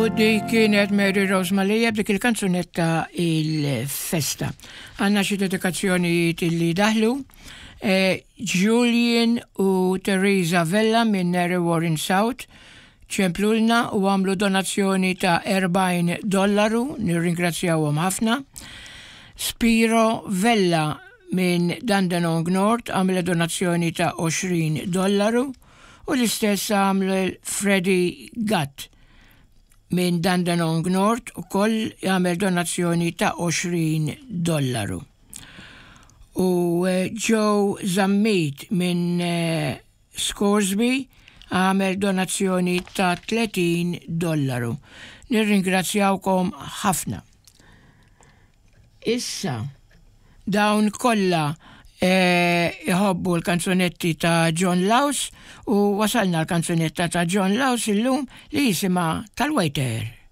U dik kienet Mary Rose Malija b'dik il-kanzunetta il-festa. Għanna xi dedikazzjonijiet illi daħlu. Eh, Julian u Teresa Vella minn Mary Warren South ċemplulna u għamlu donazzjoni ta' 40 dollaru, nirringrazzjawhom ħafna. Spiro Vella minn Dandenong North għamle donazzjoni ta' 20 dollaru u l-istess għamel Freddie Gatt minn Dandenong North ukoll għamel donazzjoni ta' 20 dollaru. U eh, Joe Zammit minn eh, Scoresby għamel donazzjoni ta' 30 dollaru. Nirringrazzjawkom ħafna. Issa, dawn kollha eh, iħobbu l-kanzunetti ta' John Laus u wasalna l-kanzunetta ta' John Laus illum li jisimha tal-Waiter.